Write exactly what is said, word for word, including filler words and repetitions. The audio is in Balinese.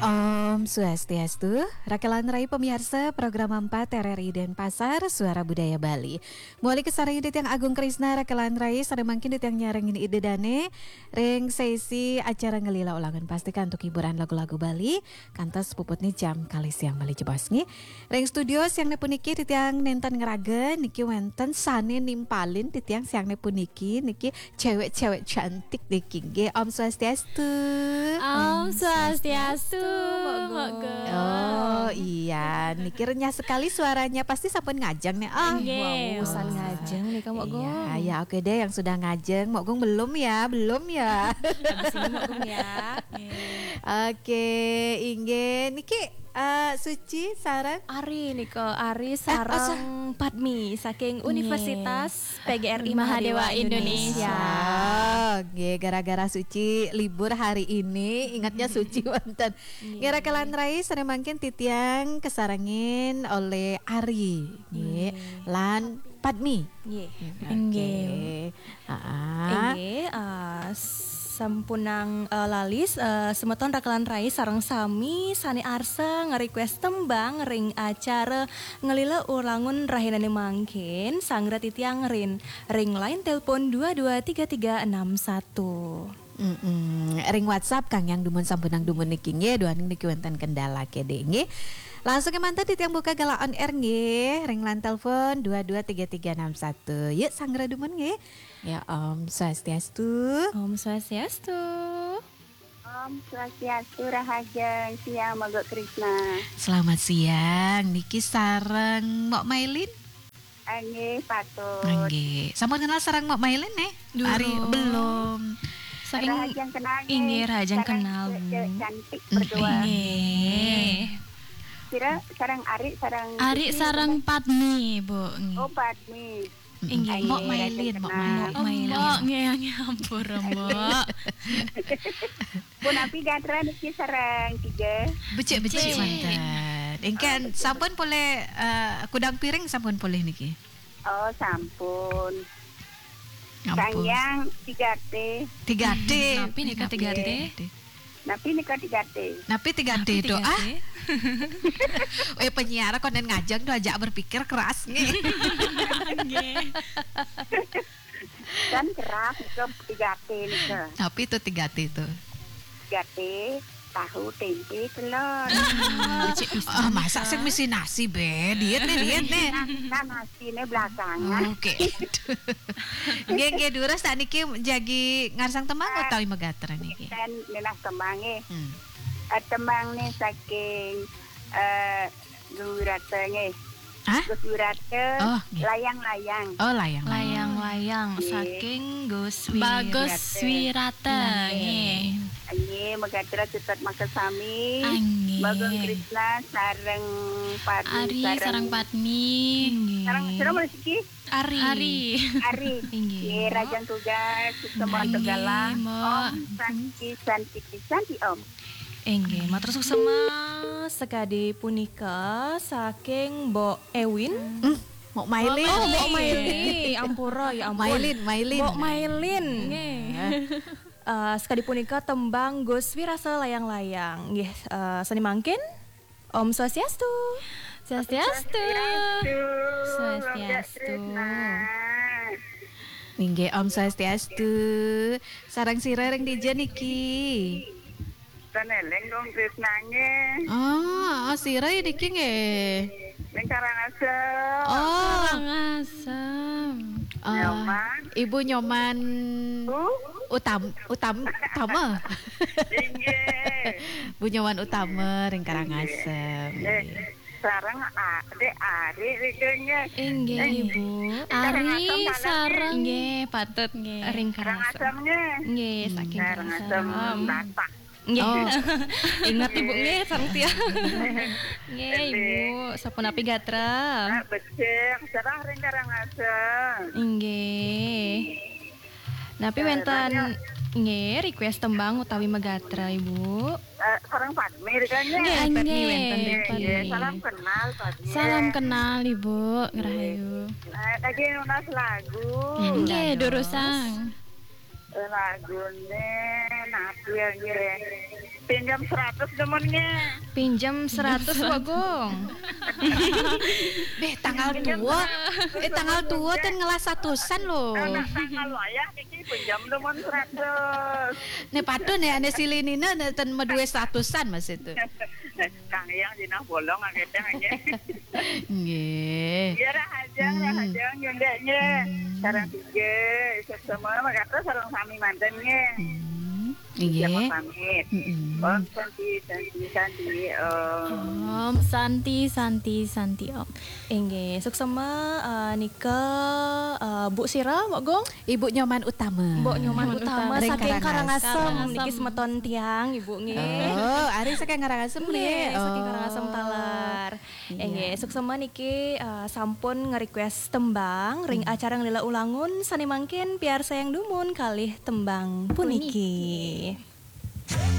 Om Swastiastu, rakelan rai pamiarsa program empat R R I Denpasar, Suara Budaya Bali. Mawali kasarengin titiang Agung Krisna, rakelan rai, sareng mangkin titiang nyarengin Ida Dane ring sesi acara Ngelila Ulangun, pasti antuk hiburan lagu-lagu Bali, kantos puputne jam kalih siang malih jebos, nggih. Ring studio siangne puniki titiang nenten ngraga niki wenten sane nimpalin titiang siangne puniki niki cewek-cewek cantik niki nggih. Om Swastiastu. Om Swastiastu, Mbok Gung. Oh, iya, niki renyah sekali suaranya. Pasti sampun ngajeng nih. Ah, nggih, wau, usan ngajeng nih, Mbok Gung. Iya, ya, oke deh, yang sudah ngajeng. Mbok Gung belum ya, belum ya. Habis ini Mbok Gung ya. Nggih. Oke, inggih. Niki, eh, Suci sareng Ari nika, Ari sareng Padmi saking Universitas P G R I Mahadewa Indonesia. Oh, nggih, gara-gara Suci libur hari ini, ingatnya Suci wonten. Nggih, rakelan rai, sareng mangkin titiang kasarengin olih Ari, nggih, lan Padmi. Nggih. Oke. Nggih. Heeh. Inggih, eh, sampunang, eh, lali, eh, semeton rakelan rai sareng sami sane arsa nge-request tembang ring acara Ngelila Ulangun rahinane mangkin, sanggra titiang ring, ring line telepon dua dua tiga tiga enam satu. Mm-mm. Ring WhatsApp, Kang, yang dumun sampunang dumun niki nggih, duaning niki wenten kendala kede nggih. Langsung kemanten titiang buka galah on air nggih, ring line telepon dua dua tiga tiga enam satu. Yuk, sanggra dumun nggih. Ya, Om Swastiastu. Om Swastiastu. Om Swastiastu, rahajeng siang, Mbok Krisna. Selamat siang, niki sareng Mbok Mailin? Nggih, patut. Nggih. Sampun kenal sareng Mbok Mailin, eh? Durung. Ari, belum. Saking rahajeng kenal, nggih. Inggih, rahajeng kenal, Bu. Sareng cewek cantik berdua. Nggih. Kira sareng Ari, sareng Ari, Suci, sareng Padmi, Bu. Nggih. Oh, Padmi. Inggih. Mbok Mailin, Mbok Mailin. Oh, Mbok, nggih, nggih, ampura, Mbok. Punapi gatra niki sareng tiga. Becik, becik, becik manten. Engken, oh, becik. Sampun polih, eh, kudang piring sampun polih niki? Oh, sampun. Ampun. Sang Hyang tiga T. Tiga T. Napi nika tiga T? Napi nika tiga T? Napi tiga T itu, ah? Eh, penyiar konden ngajeng tuh ajak berpikir keras nih. Nggih. Kan keras itu tiga T nika. Tapi itu tiga T itu. Tiga T, tahu, tempe, telur. Ah, masa sing misi nasi, be? Diet nih, diet nih. Nah, nah, nasi ini belakangan. Oke. Nggih, nggih, durus tak niki jagi ngarsang tembang utawi magatra niki? Ten nenas tembang nggih. Hmm. Eh, tembang nih saking, eh, Gus Wirata nggih. Hah? Gus Wirata, oh, nggih. Layang-layang. Oh, layang-layang. Layang-layang, nggih. Saking Gus Wirata. Bagus Wirata, nggih. Nggih, magatra cutet makasami. Ah, nggih. Mbok Gung Krisna sareng Padmi. Ari sareng Padmi. Nggih. Sareng sira malih siki? Ari. Ari. Ari. Inggih, nggih, Mbok. Rahajeng tugas, suksma. Nggih, galah. Mbok. Om Santi, Santi, Santi, Om. Inggih, matur suksma. Sakadi punika saking Mbok Ewin. Hmm, Mbok Mailin. Oh, Mbok Mailin. Ampura, ya ampun. Mailin, Mailin. Mbok Mailin. Nggih. Eh, sakadi punika tembang Gus Wirata Layang-Layang. Nggih, eh, sane mangkin. Om Swastiastu. Swastiastu. Swastiastu. Inggih, Om Swastiastu. Sareng sira ring dija niki? Ten eling Gung Krisna nggih. Oh, oh, sira niki nggih? Ning Karangasem. Oh. Karangasem. Ah, Nyoman. Ibu Nyoman Bu? Utam-, Utam-, Utama. Inggih. Bu Nyoman Utama ring Karangasem. Inggih. Eh, nggih. Sareng a-, Dek Ari rikene. Inggih, eh, Ibu. Ari Karangasem sareng nggih, patut nggih. Ring Karangasem. Karangasem nggih. Nggih, hmm, saking Karangasem. Karangasem Batak. Nggih. Oh. Inget Ibu nggih, sareng tiang. Nggih, Ibu. Sapunapi gatra? Ah, becik, sareng ring Karangasem. Inggih. Napi wenten nggih request tembang utawi magatra, Ibu? Eh, sareng Padmi rikene. Nggih, Padmi wenten nggih. Nggih, salam kenal, Padmi. Salam kenal, Ibu. Nggih. Ngerahayu. Eh, lagi nunas lagu. Nggih, durusang. Eh, lagune napi ya, nggih? Pinjam seratus demen nge. Pinjam seratus, Wak Gung. Beh, tanggal tua. Eh, tanggal tua ten ngelah satusan loh. Anak tanggal wayah niki pinjam demen seratus. Ne patut ne ane silih nina ne ten medue satusan mas itu. Kang Yang jinah bolong agak nge. Nggih. Ya, rahajeng, rahajeng, yundeknya. Sarang tiga, isuk semua, makata sarang sami manten nge. Hmm. Siapa Nggih. pamit. Mm-mm. Om Santi, Santi, Santi, Om. Om Santi, Santi, Santi, Om. Inggih, suksema eh, nika eh, Bu Sira, Wak Gung. Ibu Nyoman Utama. Mbok Nyoman Utama Ring saking Karangasem. Karangasem niki semeton tiang, Ibu nggih. Oh, ari saking Karangasem Nggih, nggih. saking Oh. Karangasem talar. Iya. Inggih, suksema niki eh, sampun nge-request tembang ring acara Ngelila Ulangun sane mangkin piarsa yang dumun kalih tembang puniki.